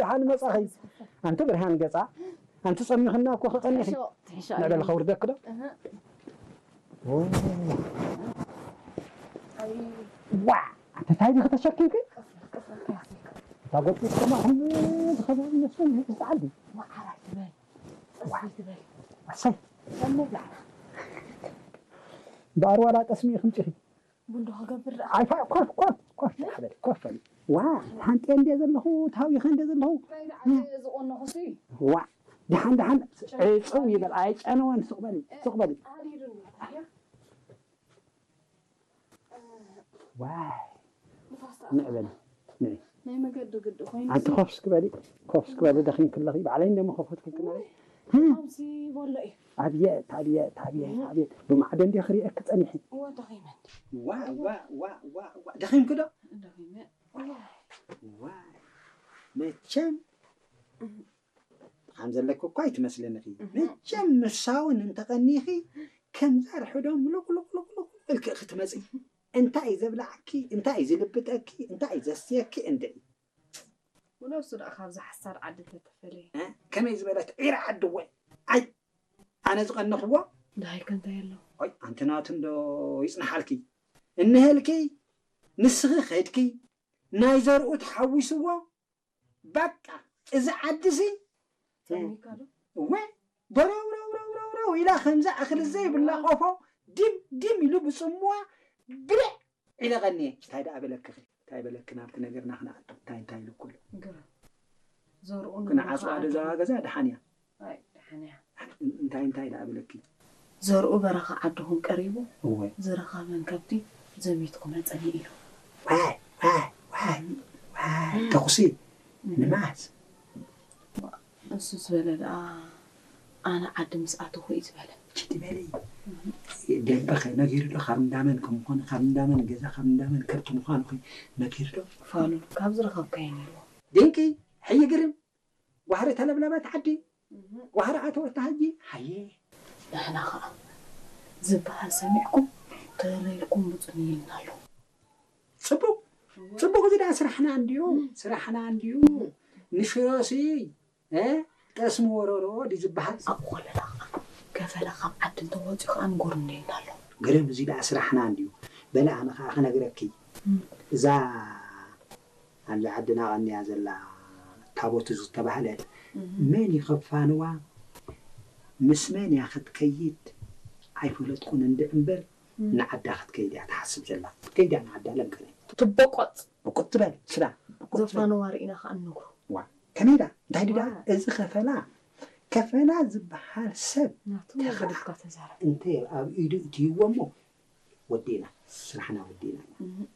ደሓን መጻኺ። ኣንቲ ብርሃን ገጻ፣ ኣንቲ ጸሚኽና እኮ ክቐኒኺ። ትሕሾ፣ ትሕሾ። ንዕበል ከውርደክ ዶ? እህ። ዋ፣ ኣንቲ ታይ ዲኺ ተሸኪምኪ? እታ ጎጢ ከማኹም ዝኸበሩ ይመስለኒ፣ ህዝቢ ዓዲ። ዋ፣ ዓራት ትበል። ዋ። ጽፍሪ ትበል። ኣሰይ። ከም ምብላዕ። እምበኣር ዋላ ጠስሚ ኢኺ ምጺኺ። ቡን ዶ ክገብር ደኣ? ኣይ፣ ፋ-፣ ኮፍ፣ ኮፍ፣ ኮፍ፣ ሓበል፣ ኮፍ በል። ዋ፣ ሓንጤ እንዴ ዘለኹ፣ ታዊኸ እንዴ ዘለኹ። ናይ ላዕሊ ዝቆነኹሲ። ዋ፣ ደሓን፣ ደሓን፣ ዕጽው ይበል፣ ኣይጨነወን፣ ስቕ በሊ፣ ስቕ በሊ። ኣሪሩኒ። ዋይ፣ ንፋስ ተኣትዎ። ንዕበሊ፣ ንዒ። ናይ መገዲ ግዲ ኮይኑ ኣንቲ ሲ- ኮፍ እስኪ በሊ፣ ኮፍ እስኪ በሊ፣ ደኺምኪ ኣለኺ። ባዕለይ እንደሞ ከፈትኩልኪ ማለት። ከምሲ በሎ እዩ። ኣብየት፣ ኣብየት፣ ኣብየት፣ ኣብየት። ብማዕዶ እንዲ ክሪኤኪ ጸኒሐ። እወ፣ ደኺመ እንዲ። ዋ፣ ዋ፣ ዋ፣ ዋ፣ ዋ። ደኺምኪ ዶ? ደኺመ። ዋ፣ መቸም ከም ዘለኪ እኳ ኣይትመስለኒ ኢኺ። እህ። መቸም ምሳውን እንተቐኒኺ፣ ከምዛ ርሑዶም ሉቕ ሉቕ ሉቕ ሉቕ ኢልኪ ክትመጺ። እንታይ እዩ ዘብልዓኪ? እንታይ እዩ ዝልብጠኪ? እንታይ እዩ ዘስትየኪ? እንድዒ። ወላ እሱ ደኣ ካብዛ ሓሳር ዓዲ ተተፈለየ። እ? ከመይ ዝበለት ዒራ ዓዲ እወ? ኣይ፣ ኣነ ዝቐነኽዎ? ደሃይከ እንታይ ኣሎ? ኣይ፣ ኣንቲ ናቱ እንዶ ይጽንሓልኪ። እንሀልኪ፣ ንስኺ ኸድኪ፣ ናይ ዘርኡ ተሓዊስዎ፣ በቃ፣ እዚ ዓዲሲ፣ ጸሚካ ዶ? እወ፣ በረው፣ ረው፣ ረው፣ ረው፣ ረው ኢላ ከምዛ እኽሊ ዘይብላ ቆፎ፣ ዲም፣ ዲም ኢሉ ብጽምዋ፣ ብልዕ ኢለ ቀንየ። እንታይ ደኣ በለክኺ? እንታይ በለኪ? ናብቲ ነገርና ክንኣቱ። እንታይ፣ እንታይ ኢሉ እኮ ኣሎ? ግረ። ዘርኡ ክንዓጽዋ ንብረኻ ደዛ ኣድርጉ። ገዛ ደሓን እያ። ኣይ፣ ደሓን እያ። እንታይ፣ እንታይ ደኣ በለኪ? ዘርኡ በረኻ ዓድኹም ቀሪቡ፣ እወ። ዝረኸበን ከብቲ ዘሚትኩም መጸኒ ኢሉ። ዋይ፣ ዋይ፣ ዋይ፣ ዋይ፣ ተኹሲ እም። ንመዓስ? እሱ ዝበለ ደኣ ኣነ ዓዲ ምስ ኣተኹ እዩ ዝበለ። ችቲ በሊ። ደንበኸ ነጊሩ ዶ ካብ እንዳመን ከም ምዃኑ፣ ካብ እንዳመን ገዛ፣ ካብ እንዳመን ከብቲ ምዃኑ ኸ ነጊሩ ዶ? ፋሉል ካብ ዝረኸብካዮ ነይርዎ። ድንቂ፣ ሕይ ግርም። ዋህሪ ተለብለበት ዓዲ፣ እህ። ዋህሪ ኣተወታ ሕጂ፣ ሃየ። ንሕና ኸዓ ዝበሃል ሰሚዕኩም ተለይልኩም ምጹኒ ኢልና ኣሎ። ጽቡቕ፣ ጽቡቕ፣ እዚ ደኣ ስራሕና እንድዩ፣ እም። ስራሕና እንድዩ። እም። ንሽሮሲ፣ እ፣ ጠስሚ ወረሮ ድዩ ዝበሃል? ኣብኡ ከለና ኸዓ፣ ከፈላ ካብ ዓዲ እንተወጺኡ ኸዓ ንጎርኒ ኢልና ኣሎ። ግርም፣ እዚ ደኣ ስራሕና እንድዩ። በለ፣ ኣነ ኸዓ ክነግረኪ። እም። እዛ ኣብዚ ዓድና ቀንያ ዘላ ታቦት ዝተባህለት እም። መን እዩ ከፋንዋ፣ ምስ መን እያ ክትከይድ ኣይፈለጥኩን እንድዒ እምበር፣ እም። ንዓዳ ክትከይድ እያ ትሓስብ ዘላ። ክትከይድ እያ ንዓዳ ለምከነ። ትቦቆጽ። ብቁጥ ትበል፣ ስዳ፣ ብቁጥ ትበል። ዘፋንዋ ርኢና ኸዓ ንነግሮ። ዋ፣ ከመይ ኢላ? እንታይ ድዳ? ዋ። እዚ ከፈላ፣ ከፈላ ዝበሃል ሰብ ናቱ ተኸዓ ገዲፍካ ተዛረብ። እንተ ኣብ ኢዱ እትይዎ እሞ፣ ወዲእና፣ ስራሕና ወዲእና ኢና። እም።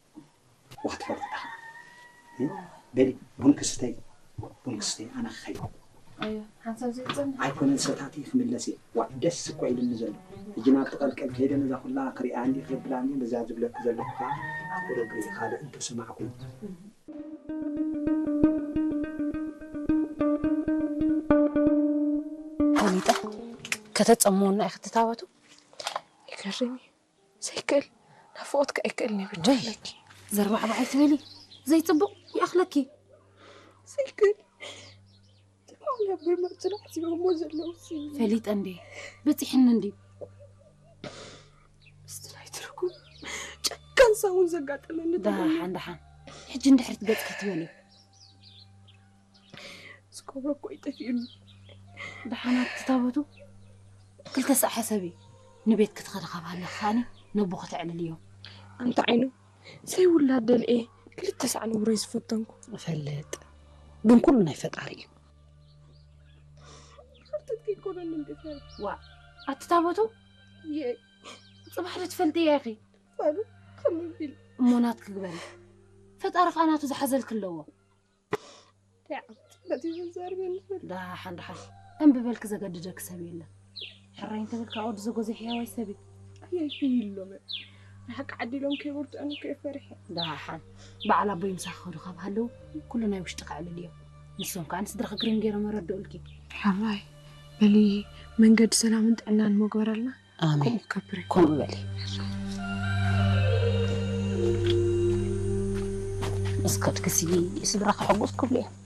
ወክትፈልጥ ኢኻ። እም? በሊ፣ ቡን ክስተይ፣ ቡን ክስተይ፣ ኣነ ክኸይድ። ኣዮ፣ ሓንሳብ ዘይጸንሕ። ኣይኮነን፣ ሰታቲ ክምለስ እየ። ዋእ፣ ደስ እኮ ኢሉኒ ዘሎ። ሕጂ ናብቲ ቀልቀል ከይደ ነዛ ኩላ ክሪኣ እንዲ ክብላ እንዲ በዛ ዝብለኪ ዘለኹ ከዓ ቁሩብ ርኢ፣ ካልእ እንተሰማዕኩ። ፈሊጠ ከተጸምወና ኢኺ ትታወቱ። ይገርም እዩ። ዘይክእል፣ ናፍቖትካ ኣይክእልን እዩ ወይ! በጃለኪ። ዘርባዕባዕ ኣይትበሊ፣ ዘይጽቡቕ ይኣኽለኪ። ዘይክእል፣ ትማሊ ኣብ ብርመርትና ዓዚቦሞ ዘለዉ ሲ። ፈሊጠ እንዴ፣ በጺሕኒ እንድዩ። ምስቲ ናይ ትርጉም ጨካን ሳውን ዘጋጠመኒ ተጎኒ። ደሓን፣ ደሓን። ሕጂ እንድሕሪት ገጽኪ ትበሊ። ዝገብሮ እኮ እዩ ጠፊኡኒ። ደሓናት ትታበቱ። ክልተ ሳዕ ሕሰቢ። ንቤት ክትኸዲ ካብ ሃለኺ ከኣኒ ነቦ ከተዕልልዮ። ኣንታ ዓይኑ፣ ዘይውላድ ደልኤ ክልተ ሳዕ ንብሮይ ዝፈተንኩ። እፈልጥ። ግን ኩሉ ናይ ፈጣሪ እዩ። ሓፍተት ከይኮነኒ እንዴ ፈሪ። ዋእ፣ ኣቲ ታቦቱ? የይ። ጽባሕ ዶ ትፈልጥያ ኢኺ? ባሉ፣ ከምኡ ቢል። እሞ ናትኪ ግበሪ። ፈጣሪ ከኣ ናቱ ዝሓዘልኪ ኣለዎ። እንታይ ዓመት በቲ ዘዛርበኒ ዘሎ? ደሓን፣ ደሓን። እምቢ በልኪ፣ ዘገድደኪ ሰብ የለን። ሕራይ እንተበልካ ወዲ ዘጎዘ ሕያዋይ ሰብ እዩ። ኣየይ፣ ሕይሎመ። ንሓቂ ዓዲ ኢሎም ከይበርትዑኒ እኮ እየ ፈሪሐ። ደሓን። በዓል ኣቦይ ምሳኺ ክኸዱ ካብ ሃለዉ፣ ኩሉ ናይ ውሽጢ ከዕልል እዮም። ንሶም ከኣ ንስድራኺ ግርም ገይሮም ኣረድኡልኪ። ሕራይ በሊ፣ መንገዲ ሰላምን ጥዕናን እሞ ግበረልና። ኣሜን። ከምኡ ክገብር እየ። ከምኡ በሊ። እስከ ድግሲ ስድራ ከሐጉስ ክብሉ እዮም።